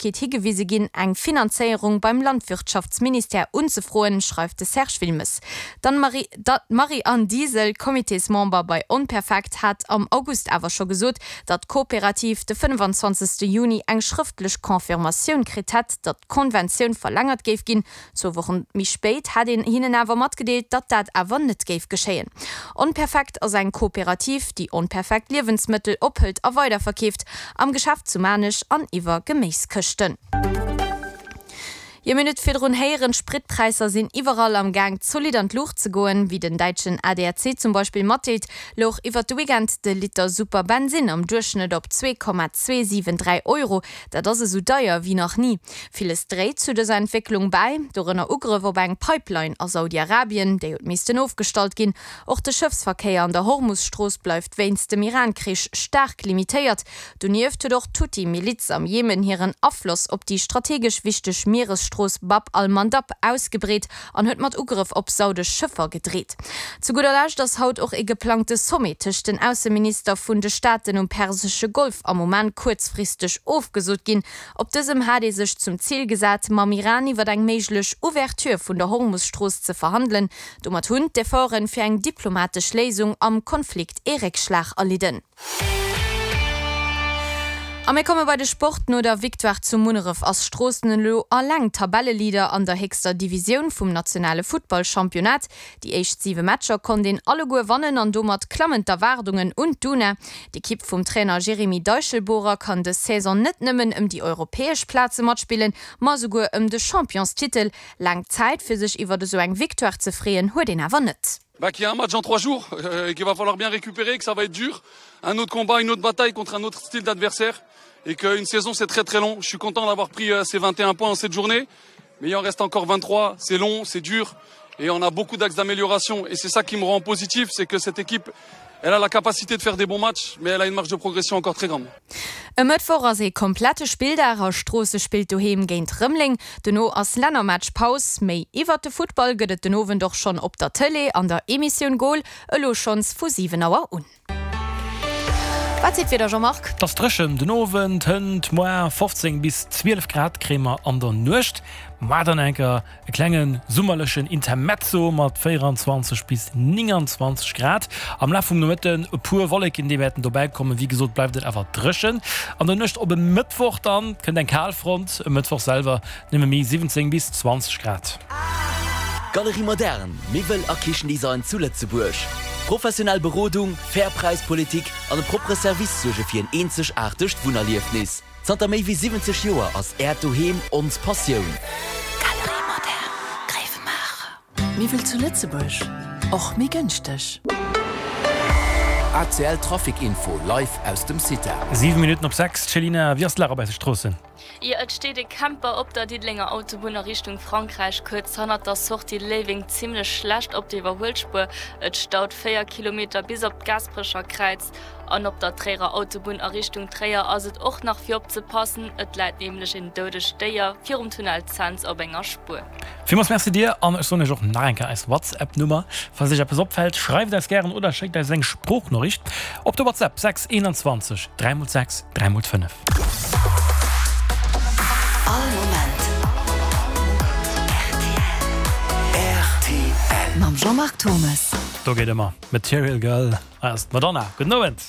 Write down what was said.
Méiglechkeet higewise ginn, eng Finanzéierung beim Landwirtschaftsministère unzefroen, schreift de Serge Wilmes. D'Marie-Anne Diesel, Comitésmember bei Onperfekt, hat am August awer scho gesot, datt d'Kooperativ de 25. Juni eng schrëftlech Confirmatioun kritt hätt, datt d'Konventioun verlängert géif ginn. Zwou Wochen méi spéit hätt een hinnen awer matgedeelt, datt dat awer net géif geschéien. Onperfekt ass eng Kooperativ, déi onperfekt Liewensmëttel ophëlt a weiderverkeeft, am Geschäft zu Maarnech an iwwer Geméiskëschten. Jo, mir hunn et virdrun héieren, d'Spritpräisser sinn iwwerall am Gaang zolidd an d'Luucht ze goen. Wéi den däitschen ADAC zum Beispill matdeelt, louch iwwert de Weekend de Liter Super-Bensinn am Duerchschnëtt op 2,273 Euro. Dat ass esou deier wéi nach ni. Villes dréit zu dëser Entwécklung bäi, dorënner Ugrëff op eng Pipeline a Saudi-Arabien, déi huet missten ofgestallt ginn. Och de Schëffsverkéier an der Hormus-Strooss bleift wéinst dem Iran-Krich staark limitéiert. Donieft huet och d'Huthi-Miliz am Jemen hiren Afloss op déi strategesch wichteg Mieresstrooss Bab al-Mandab ausgebreet an huet mat Ugrëff op saudesch Schëffer gedreet. Zu gudder Lescht ass haut och ee geplangte Sommet tëscht den Ausseminister vun de Staaten um Persesche Golf am Oman kuerzfristeg ofgesot ginn. Op dësem hat ee sech zum Zil gesat, mam Iran iwwer eng méiglech Ouverture vun der Hormus-Strooss ze verhandelen. Domat hunn d'Efforte fir eng diplomatesch Léisung am Konflikt ee Réckschlag erlidden. A mir komme bei de Sport. No der Victoire zu Munneref ass Stroossen elo alleng Tabelleleader an der héchster Divisioun vum nationale Futtballchampionnat. Déi éischt 7 Matcher konnt een alleguer wannen an domat klammen d'Erwaardungen un d'Una. D'Ekipp vum Trainer Jeremy Deichelbohrer kann dës Saison net nëmmen ëm déi europäesch Plaze matspillen, ma esouguer ëm de Championstitel. Laang Zäit fir sech iwwer esou eng Victoire ze freeën huet een awer net. Bah, qu'il y a un match dans trois jours euh, et qu'il va falloir bien récupérer, que ça va être dur. Un autre combat, une autre bataille contre un autre style d'adversaire et qu'une saison c'est très très long. Je suis content d'avoir pris euh, ces 21 points en cette journée, mais il en reste encore 23. C'est long, c'est dur et on a beaucoup d'axes d'amélioration et c'est ça qui me rend positif, c'est que cette équipe elle a la capacité de faire des bons matchs, mais elle a une marge de progression encore très grande. E Mëttwoch ass ee komplette Spilldag a Stroosse spillt doheem géint Rëmeleng. Dono ass Lännermatch-Paus. Méi iwwert de Futtball gëtt et den Owend och schonn op der Tëlee an der Emissioun Goal, elo schonns vu 7 Auer un. Wat seet d'Wieder, Jean-Marc? Et ass dréchen den Owend, hënt moar 15 bis 12 Grad kréie mer an der Nuecht. Moar dann enker E klenge summerlechen Intermezzo mat 24 bis 29 Grad. Am Laf vum Nomëtten e puer Wolleken, déi wäerten dobäi kommen. Wéi gesot bleift et awer dréchen. An der Nuecht op e Mëttwoch dann kënnt eng Kalfront. E Mëttwoch selwer nëmme méi 17 bis 20 Grad. Galerie Moderne, Miwwel a Kichendesign zu Lëtzebuerg. Professionell Berodung, fair Präispolitik an e proppere Service suerge fir en eenzegaartegt Wunnerliefnis. Zanter méi wéi 70 Joer ass Äert Doheem ons Passioun. Galerie Moderne, Gréiwemaacher. Miwwel zu Lëtzebuerg, och méi gënschteg. ACL Trafic Info live aus dem CITA. 7 Minutten op 6, Céline, wéi ass d'Lag op eise Stroossen? Jo, et steet e Camper op der Diddelenger Autobunn a Richtung Frankräich, kuerz hannert der Sortie Léiweng, zimmlech schlecht op der Iwwerhuelspuer. Et staut 4 Kilometer bis op d'Gaasperecher Kräiz. An op der Tréierer Autobunn a Richtung Tréier ass et och nach fir opzepassen, et läit nämlech een doudegt Déier virum Tunnel Cents op enger Spuer. Villmools Merci dir an ech soen iech och nach eng Kéier eis WhatsApp Nummer. Falls iech eppes opfält, schreift eis gären oder schéckt eis eng Sproochnoriicht op de WhatsApp 6 21 3 x 6 3 x 5. All Moment rtl. Mam Jean-Marc Thomes. Do geet ëmmer Material Girl. Hei ass d'Madonna. Gudden Owend.